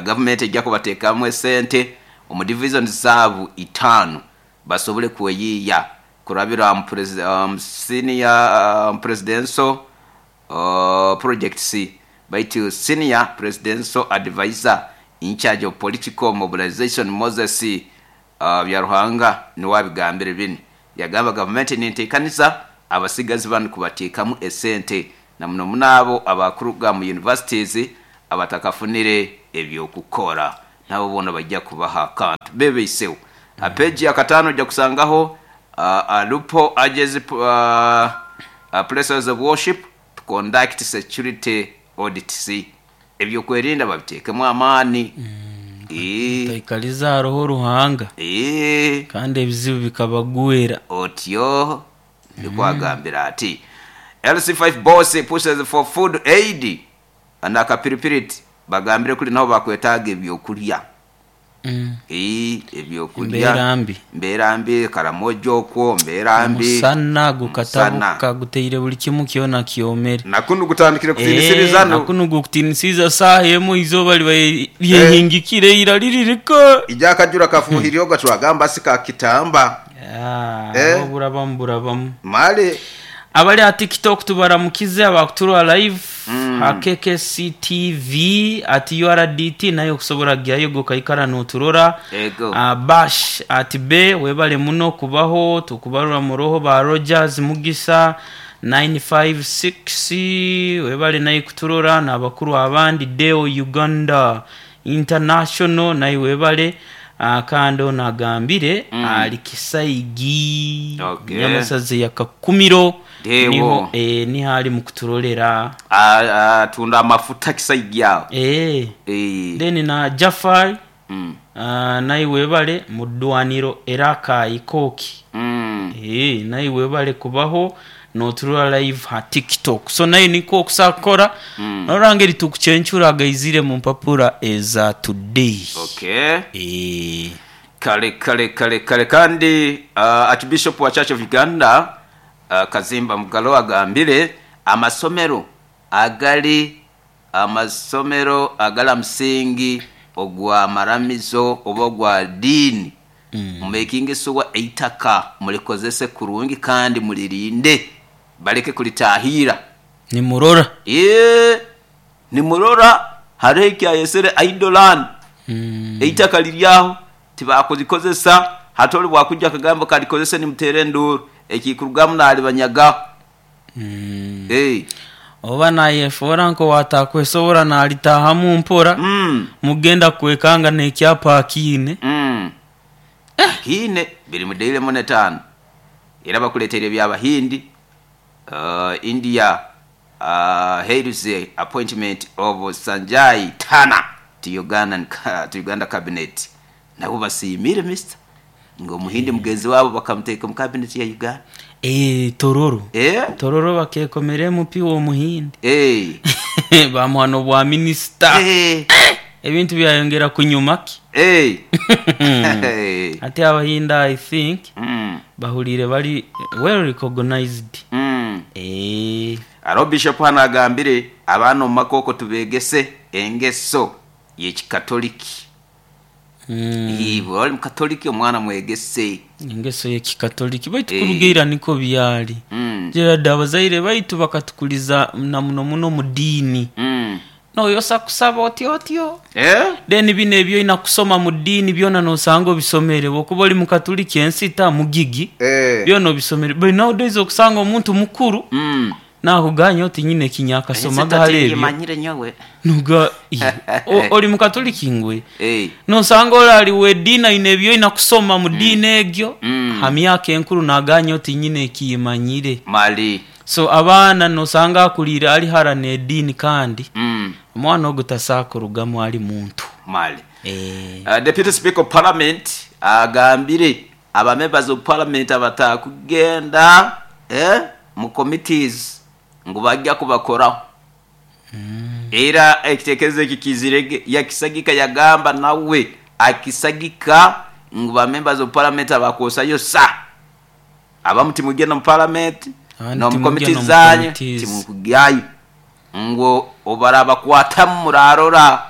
Gavumenti egya kubateekamu esente omu divisions zaabu itaanu basobole kweyiiya kurabira omu Senior Presidential Projects baitu Senior Presidential Advisor in-charge of Political Mobilization Moses Byaruhanga niwe abigambire binu. Yagamba gavumenti nenteekaniza abasigazi banu kubateekamu esente. na muno muno abo abakuruga mu universities abatakafunire eby'okukora nabo boona bajja kubaha akantu bebeiseho. Ha peegi ya kataano ojja kusangaho Alupo urges places of worship to conduct security audits. Ebyokwerinda babiteekemu amaani. Otaikaliza haroho Ruhanga kandi ebizibu bikabagwera. Otyo nikwo agambire ati. LC5 boss pushes for food aid n'akapiripiriti bagambire kuri naho bakwetaaga ebyokurya. Ebyokurya. Mbeera mbi. Mbeera mbi, Karamoja okwo mbeera mbi. Omusana gukatabuka guteire buli kimu kyona kyomere. Na kunu gutandikire kutiinisiriza. Na kunu gukutiinisiriza saaha emu eizooba libaire lyehingikire ira liririka. Ijo akajura kafuuhire oga twagamba si ka kitamba. Agho burabamu burabamu. Male. Abali aha TikTok tubaramukize, abakuturora live aha KKC TV at URDT nayo okusobora kugyayo iwe okaikara noturora. Bash at Be webale muno kubaho, tukubarora muroho ba Rogers Mugisa 956 webale naye kuturora nabakuru abandi Deo Uganda International naye webale. Kandi ono agambire ali Kisaigi, Nyamasaza eya Kakumiro niho niho ali mu kuturolera. Atunda amafuta Kisaigi agho. Then na Jafar naye webale mu dwaniro e Rakai Kooki naye webale kubaho noturora live ha TikTok. So naye nikwo okusa kukora norora ngeri tukucencura agaizire mu mpapura eza Today. Okay. Kale kale kale kale kandi Archbishop wa Church of Uganda Kazimba Mugalu agambire amasomero agali Amasomero agali aha musingi ogwa maramizo oba ogwa diini, mumekinge shuwa eitaka mulikozese kurungi kandi mulirinde baleke kulitahiira. Nimurora. Yee, nimurora hariho ekyayesere idle land, eitaka liri agho tibakulikozesa, hati ole bwakwija akagamba kalikozese nimuteera enduuru, ekikurugamu naalibanyagaho. Oba nayefoora nk'owaatakwesobora naalitaahamu mpora, mugenda kwekanga n'ekyapa akiine. Akiine, biri mu Daily Monitor hano. Era bakuleeteire eby'Abahindi, India hails appointment of Sanjay Tanna to Uganda cabinet. Nabo basiimire Mister. Nga omuhindi mugenzi waabo bakamuteeka omu cabinet ya Uganda. Eeh Tororo. Tororo bakeekomera MP w'omuhindi. Baamuha n'obwa minisita. Ebintu byayongera kunyuma ki. Hati Abahindi I think bahuliire bari well recognized. Hariho Bishop hanu agambire abaana omu maka okwo tubeegese engeso y'ekikatoliki. Iwe oli Mukatoliki, omwana mwegese. Engeso y'Ekikatoliki. Baitu kuruga ira nikwo byali. Gerald, abazaire baitu bakatukuliza na muno muno mu diini. Noyosa kusaba otyo otyo. Then bino eby'olina kusoma mu diini byona nosanga obisomere. Bwokuba oli Mukatuliki ensita, mugigi, byona obisomere. But nowadays okusanga omuntu mukuru Naakuganya oti nyina ekinyakasomaga hale ebyo. Noga oli Mukatuliki ngwe? Nosanga ole ali w'ediini aine eby'oina kusoma mu diini egyo, ha myaka enkulu naaganya oti nyina ekiyimanyire. So abaana nosanga akuliire ali hara n'ediini kandi omwana ogwo tasobola kurugamu ali muntu. Deputy Speaker of Parliament agambire Aba members of parliament abatakugenda mu committees ngu bagya kubakoraho. Era ekitekerezo ekyo kizire ghe yakisagika yagamba nawe akisagika ngu ba members of parliament abakwosayosa abamu timwija na mu parliament Abandi nomu timwija committees nomu zanyu committees. timukugyayo ngu obarabakwatamu murarora.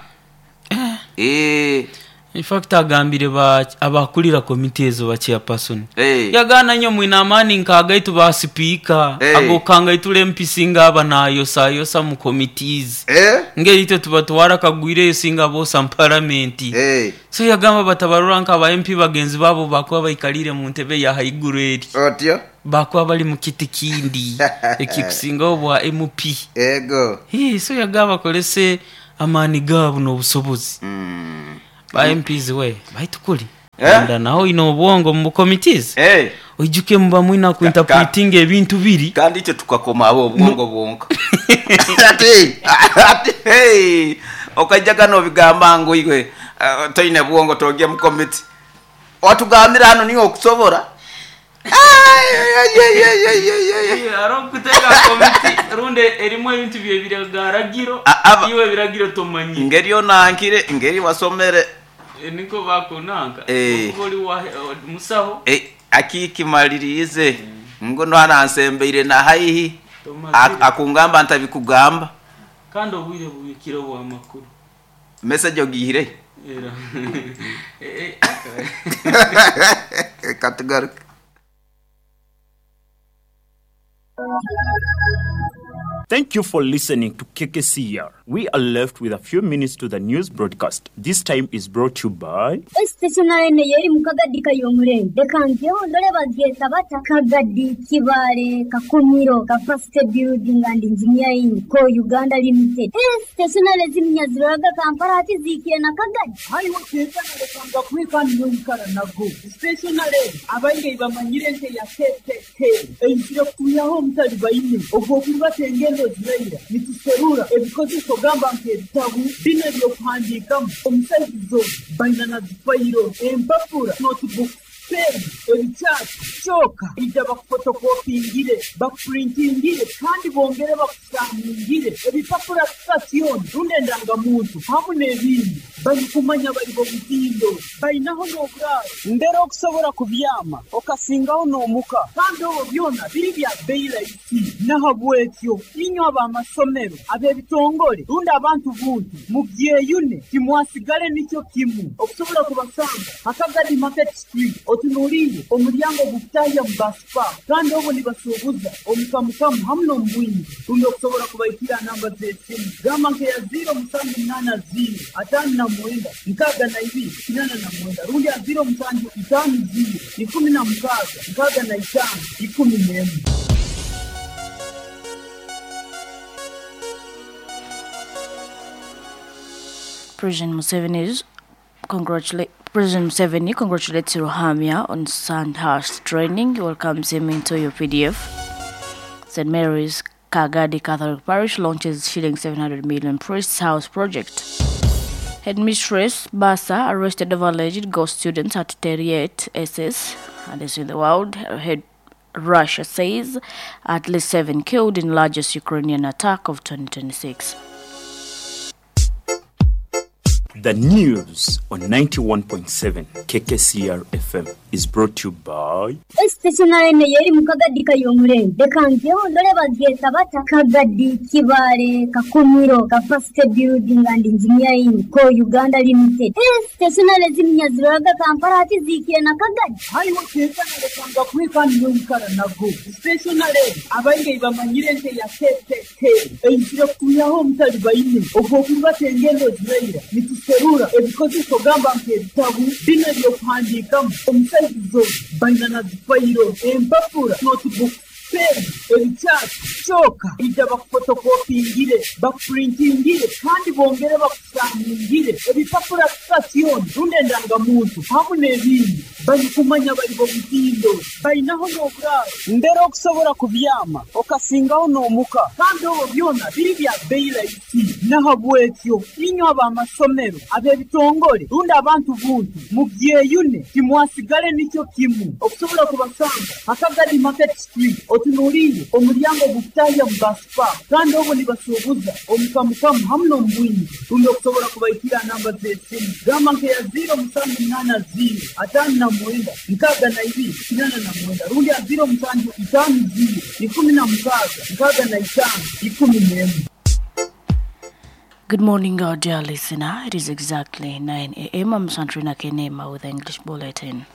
Eeh. In fact agambire ba abakulira komiti ezo ba chairperson Eh. yagaana nyo mwine amaani nk'agaitu ba sipiika Eh. ag'okukangaitula MP singa aba nayosayosa mu committees Eh. ngeri itwe tubatwara kagwireyo singa boosa mu paramenti. Eh. So yagamba batabarora nka ba MP bagenzi baabo bakuba baikaliire mu ntebe ya haiguru eri. Otyo. Bakuba bali mu kiti kindi ekikusingaho obwa MP. Ego. Hii, so yagamba bakolese amaani gaabo n'obusobozi. Ba MPs we, baitu kuli. Eh? Nda naho oine obwongo mu committees. Eh. Oijuke muba mwine ku interpreting ebintu biri. Kandi itwe tukakoma abo obwongo bwonka. Ati, ati, hey, okaijaga nobigamba ngu iwe toine bwongo togye mu committee. Watugambira hano niwe okusobora. Hariho okuteka committee rundi erimu ebintu bye biragiro, iwe ebiragiro tomanyire. Ngeri onankire, ngeri wasomere. Niko bakunanka. Eh. Okuba oli wa musaho. Akikimaliriize. Ngu nwana nsembeire na haihi. Tomazire. Akungamba ntabikugamba. Kandi obwire bubikire obw'amakuru. Message ogihire. Era. Katugaruke. Thank you for listening to KKCR. We are left with a few minutes to the news broadcast. This time is brought to you by Stationary eno yeri mu Kagadi Kayomulenge. Leka njeho ndole bagyeta bata Kagadi Kibaale Kakumiro Capacity Building and Engineering Co Uganda Limited. Stationary ziminya ziroraga Kampala hati ziikire na Kagadi. Hariho kekana lekanga kweka noikara nago. Stationary abaingi bamanyire nte ya KKK. Eizire kutuyaho omutali baine. Ogwo kurubata engendo ziraira. Nituserura ebikozeso gamba nk'ebitabu bino ebyokuhandiikamu omusaizizo baina na zifayiro empapura notebook pen ebikyati kyoka ija bakufotokopingire bakupurintingire kandi bongere bakusaningire ebipapura sitasioni rundi endangamuntu hamu n'ebindi barikumanya bari bomutindo bainaho n'oburaaro mbere okusobora kubyama okasingaho n'omuka kandi obwo byona biri bya bei rahisi. Nahabwekyo inywe ab'amasomero ab'ebitongore rundi abantu buntu mubyeyune timwasigale nikyo kimu. Okusobola kubasanga Akagadi Market Street otunuliire omulyango gukutahya mu basipa kandi obwo nibasuubuza omukamukamu hamu n'omubwingi. Rundi okusobola kubaikira namba z'esimu gamba nkeya 0780 59 62 89 rundi ya 0750 16 65 11. President Museveni congratulates Ruhamya on Sandhurst training, welcomes him into your PDF. St. Mary's Kagadi Catholic Parish launches shilling 700 million Priest's House project. Headmistress Basa arrested over alleged ghost students at Terriet SS. And this in the world. Head Russia says at least 7 killed in largest Ukrainian attack of 2026. The news on 91.7 KKCR FM is brought to you by Stationary eno yeri mu Kagadi Kayomulenge. Leka njeho ndole bagyeta bata Kagadi Kibaale Kakumiro Capacity Building and Engineering Co Uganda Limited. Stationary ziminya ziroraga Kampala hati ziikire na Kagadi. Hariho kekana lekanga kweka noikara nago. Stationary abaingi bamanyire nte ya KKK. Eizire kutuyaho omutali baine. Ogwo kurubata engendo ziraira. Nituserura ebikozeso gamba nk'ebitabu bino ebyokuhandiikamu omusaizizo baina na zifayiro empapura notebook pen ebikyati kyoka ija bakufotokopingire bakupurintingire kandi bongere bakusaningire ebipapura sitasioni rundi endangamuntu hamu n'ebindi. Barikumanya bari bomutindo bainaho n'oburaaro mbere okusobola kubyama okasingaho n'omuka kandi obwo byona biri bya bei rahisi. Nahabwekyo inywe ab'amasomero ab'ebitongore rundi abantu buntu mubyeyune timwasigale nikyo kimu. Okusobola kubasanga Akagadi Market Street otunuliire omulyango gukutahya mu basipa kandi obwo nibasuubuza omukamukamu hamu n'omubwingi. Rundi okusobola kubaikira namba z'esimu gamba nkeya 0780 59 62 89 rundi ya 0750 16 65 11. Good morning, our dear listener. It is exactly 9 a.m. I'm Santrina Kenema with the English Bulletin.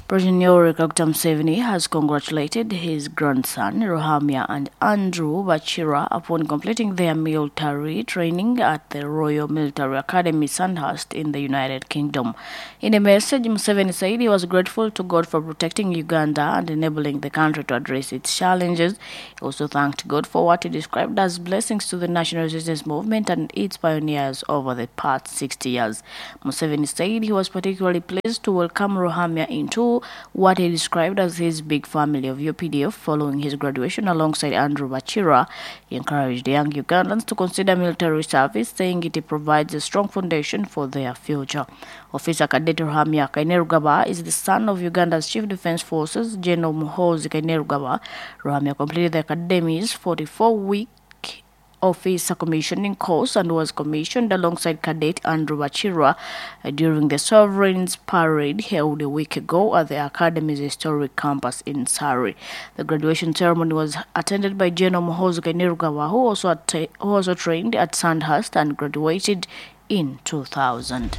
President Yoweri Kaguta Museveni has congratulated his grandson Ruhamya and Andrew Bachira upon completing their military training at the Royal Military Academy Sandhurst in the United Kingdom. In a message, Museveni said he was grateful to God for protecting Uganda and enabling the country to address its challenges. He also thanked God for what he described as blessings to the national resistance movement and its pioneers over the past 60 years. Museveni said he was particularly pleased to welcome Ruhamya into what he described as his big family of UPDF following his graduation alongside Andrew Bachira. He encouraged young Ugandans to consider military service, saying it provides a strong foundation for their future. Officer Cadet Ruhamya Kainerugaba is the son of Uganda's Chief Defense Forces, General Muhoozi Kainerugaba. Ruhamya completed the academy's 44-week officer commissioning course and was commissioned alongside Cadet Andrew Bachira during the Sovereign's Parade held a week ago at the Academy's historic campus in Surrey. The graduation ceremony was attended by General Muhoozi Kainerugaba, who also trained at Sandhurst and graduated in 2000.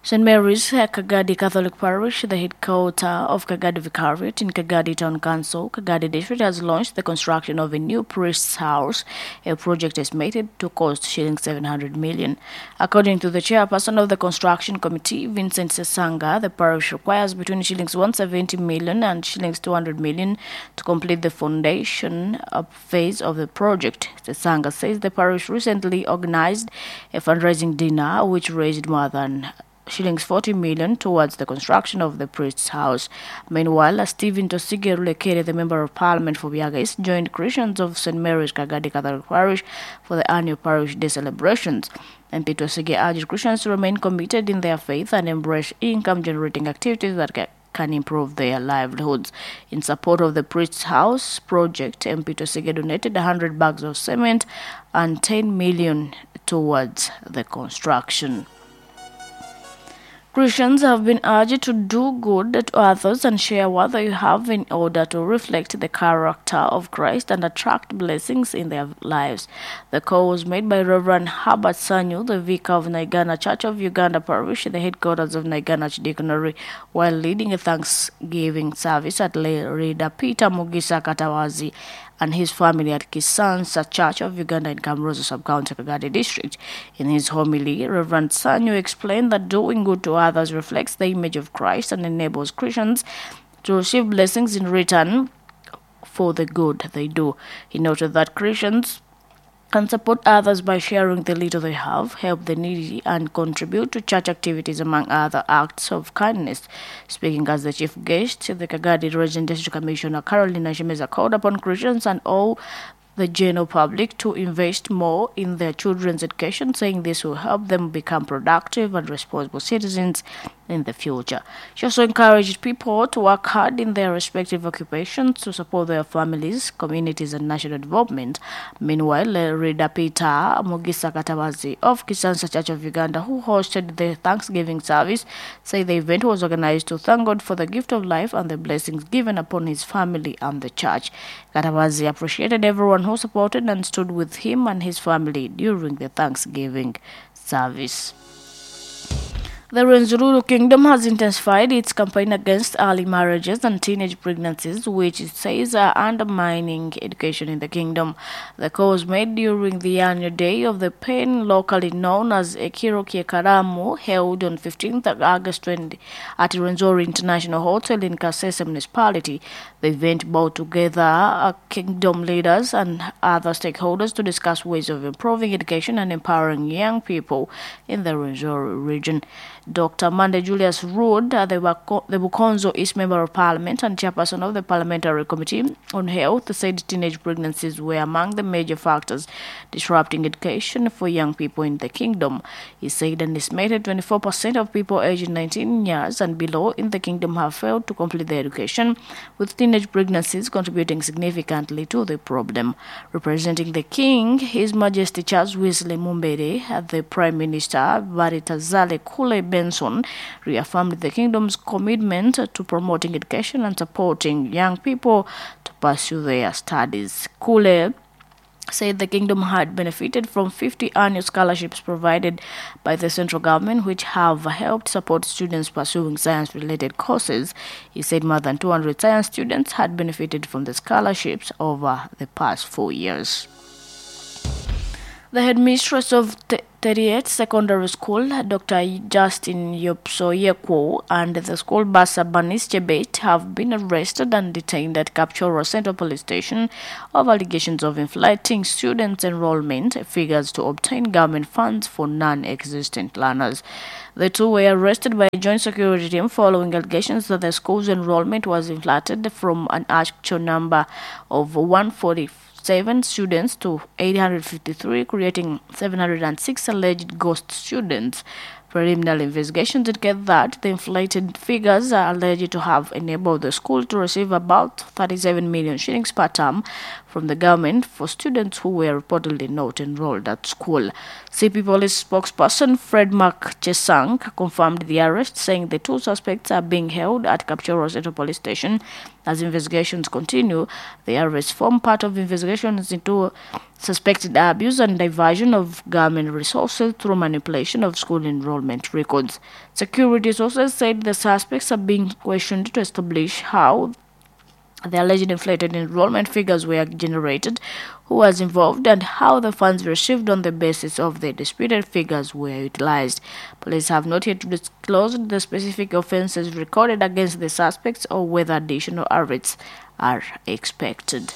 St. Mary's Kagadi Catholic Parish, the headquarters of Kagadi Vicariate in Kagadi Town Council, Kagadi District, has launched the construction of a new priest's house, a project estimated to cost shillings 700 million. According to the chairperson of the construction committee, Vincent Sesanga, the parish requires between shillings 170 million and shillings 200 million to complete the foundation phase of the project. Sesanga says the parish recently organized a fundraising dinner which raised more than shillings 40 million towards the construction of the priest's house. Meanwhile, Stephen Tosige Rulekere, the member of parliament for Biaga East, joined Christians of St. Mary's Kagadi Catholic Parish for the annual parish day celebrations. MP Tosige urged Christians to remain committed in their faith and embrace income-generating activities that can improve their livelihoods. In support of the priest's house project, MP Tosige donated 100 bags of cement and 10 million towards the construction. Christians have been urged to do good to others and share what they have in order to reflect the character of Christ and attract blessings in their lives. The call was made by Reverend Herbert Sanyu, the vicar of Naigana Church of Uganda Parish, the headquarters of Naigana Archdeaconry, while leading a Thanksgiving service at Reader Peter Mugisa Katawazi and his family at Kisansa Church of Uganda in Kamrozo Sub-County, Kagadi District. In his homily, Reverend Sanyu explained that doing good to others reflects the image of Christ and enables Christians to receive blessings in return for the good they do. He noted that Christians can support others by sharing the little they have, help the needy, and contribute to church activities, among other acts of kindness. Speaking as the chief guest, the Kagadi Region District Commissioner Carolina Shemeza called upon Christians and all the general public to invest more in their children's education, saying this will help them become productive and responsible citizens in the future. She also encouraged people to work hard in their respective occupations to support their families, communities, and national development. Meanwhile, Reader Peter Mugisa Katawazi of Kisansa Church of Uganda, who hosted the Thanksgiving service, said the event was organized to thank God for the gift of life and the blessings given upon his family and the church. Katawazi appreciated everyone who supported and stood with him and his family during the Thanksgiving service. The Rwenzururu Kingdom has intensified its campaign against early marriages and teenage pregnancies, which it says are undermining education in the kingdom. The call was made during the annual Day of the Pain, locally known as Ekiro Kiekaramu, held on 15th August 20 at Rwenzori International Hotel in Kasese Municipality. The event brought together kingdom leaders and other stakeholders to discuss ways of improving education and empowering young people in the Rwenzori region. Dr. Mande Julius Rood, the Bukonzo East Member of Parliament and chairperson of the Parliamentary Committee on Health, said teenage pregnancies were among the major factors disrupting education for young people in the kingdom. He said an estimated 24% of people aged 19 years and below in the kingdom have failed to complete their education, with teenage pregnancies contributing significantly to the problem. Representing the king, His Majesty Charles Wesley Mumbere, the Prime Minister Baritazale Kule Benson, reaffirmed the kingdom's commitment to promoting education and supporting young people to pursue their studies. Kule said the kingdom had benefited from 50 annual scholarships provided by the central government, which have helped support students pursuing science-related courses. He said more than 200 science students had benefited from the scholarships over the past 4 years. The headmistress of 38 Secondary School, Dr. Justin Yopsoyekwo, and the school bursar Banis Chebet have been arrested and detained at Kapchorwa Central Police Station over allegations of inflating students' enrollment figures to obtain government funds for non-existent learners. The two were arrested by a joint security team following allegations that the school's enrollment was inflated from an actual number of 147 students to 853, creating 706 alleged ghost students. Preliminary investigations indicate that the inflated figures are alleged to have enabled the school to receive about 37 million shillings per term from the government for students who were reportedly not enrolled at school. CP Police spokesperson Fred Mark Chesang confirmed the arrest, saying the two suspects are being held at Kapchorwa Central Police Station as investigations continue. The arrests form part of investigations into suspected abuse and diversion of government resources through manipulation of school enrollment records. Security sources said the suspects are being questioned to establish how the alleged inflated enrollment figures were generated, who was involved, and how the funds received on the basis of the disputed figures were utilized. Police have not yet disclosed the specific offenses recorded against the suspects or whether additional arrests are expected.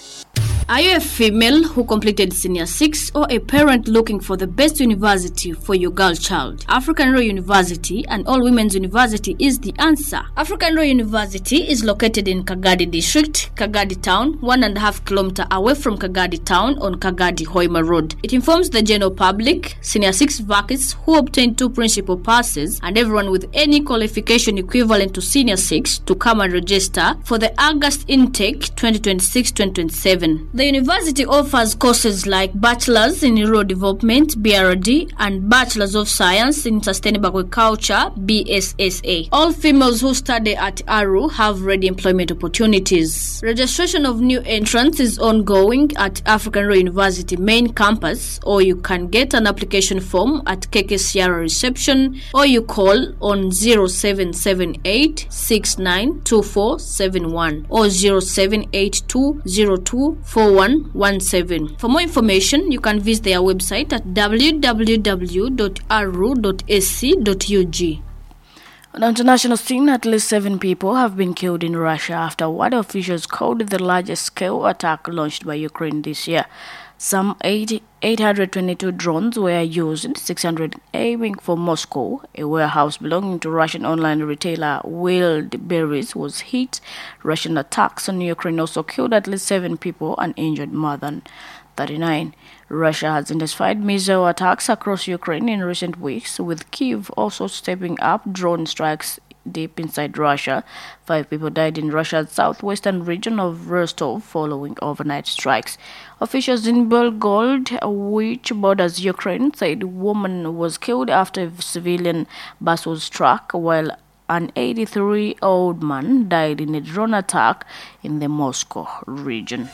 Are you a female who completed Senior 6 or a parent looking for the best university for your girl child? African Royal University and All Women's University is the answer. African Royal University is located in Kagadi District, Kagadi Town, 1.5 kilometers away from Kagadi Town on Kagadi Hoima Road. It informs the general public, Senior 6 vacancies who obtained 2 principal passes, and everyone with any qualification equivalent to Senior 6 to come and register for the August intake 2026-2027. The university offers courses like Bachelor's in Rural Development, BRD, and Bachelor's of Science in Sustainable Agriculture, BSSA. All females who study at ARU have ready employment opportunities. Registration of new entrants is ongoing at African Royal University main campus, or you can get an application form at KKCR reception, or you call on 0778 692471 or 0782 02 4117. For more information, you can visit their website at www.aru.ac.ug. On the international scene, at least 7 people have been killed in Russia after what officials called the largest scale attack launched by Ukraine this year. Some 822 drones were used, 600 aiming for Moscow. A warehouse belonging to Russian online retailer Wildberries was hit. Russian attacks on Ukraine also killed at least 7 people and injured more than 39. Russia has intensified missile attacks across Ukraine in recent weeks, with Kyiv also stepping up drone strikes deep inside Russia. 5 people died in Russia's southwestern region of Rostov following overnight strikes. Officials in Belgorod, which borders Ukraine, said a woman was killed after a civilian bus was struck, while an 83-year-old man died in a drone attack in the Moscow region.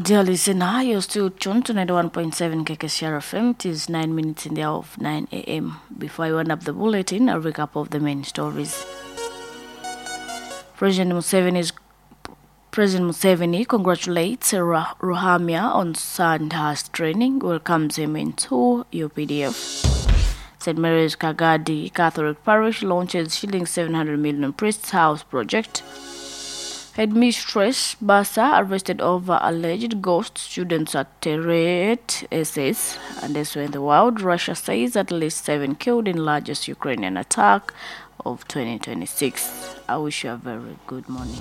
Dear listener, you're still tuned to 91.7 KKCR FM. It is 9 minutes in the hour of 9 a.m. Before I wind up the bulletin, a recap of the main stories. President Museveni congratulates Ruhamya on Sandhurst training, welcomes him into UPDF. St. Mary's Kagadi Catholic Parish launches shilling 700 million Priest's House project. Headmistress Basa arrested over alleged ghost students at Teret SS. And elsewhere in the world, Russia says at least 7 killed in largest Ukrainian attack of 2026. I wish you a very good morning.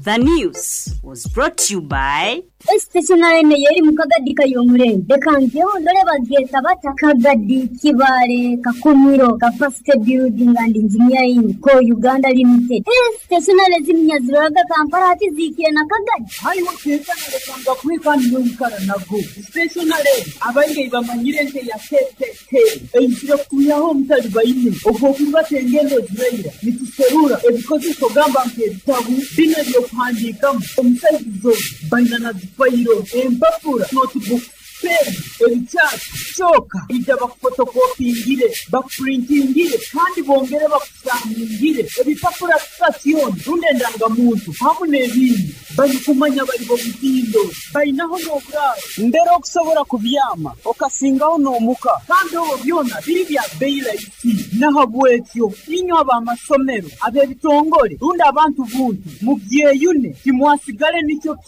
The news was brought to you by Stationary yeri mukagadi kayomurembe reka njeho ndore bagyeta bata Kagadi Kibale Kakumiro Capacity Building and Engineering Co Uganda Limited. Stationary ziminyaziraga Kampala hati zikire na Kagadi. Hariho kekanalekanga kwikani noikara nago stationary abaingi bamanyire nte ya KKK eizire kutuyaho omutali baine ogw'okurubata engendo ziraira nituserura ebikozeso gamba nk'ebitabu bino ebyokuhandiikamu omusaizi baina na zifayiro empapura notebook pen ebikyapa kyoka ija bakufotokopingire, bakupurintingire kandi bongere bakusamingire ebipapura sitasioni rundi endangamuntu hamu n'ebindi. Barikumanya bari bomutindo bainaho n'oburaaro mbere okusobora kubyama okasingaho n'omuka kandi obwo byona biri bya bei rahisi. Nahabwekyo inywe ab'amasomero ab'ebitongore rundi abantu buntu mubyeyune timwasigale nikyo.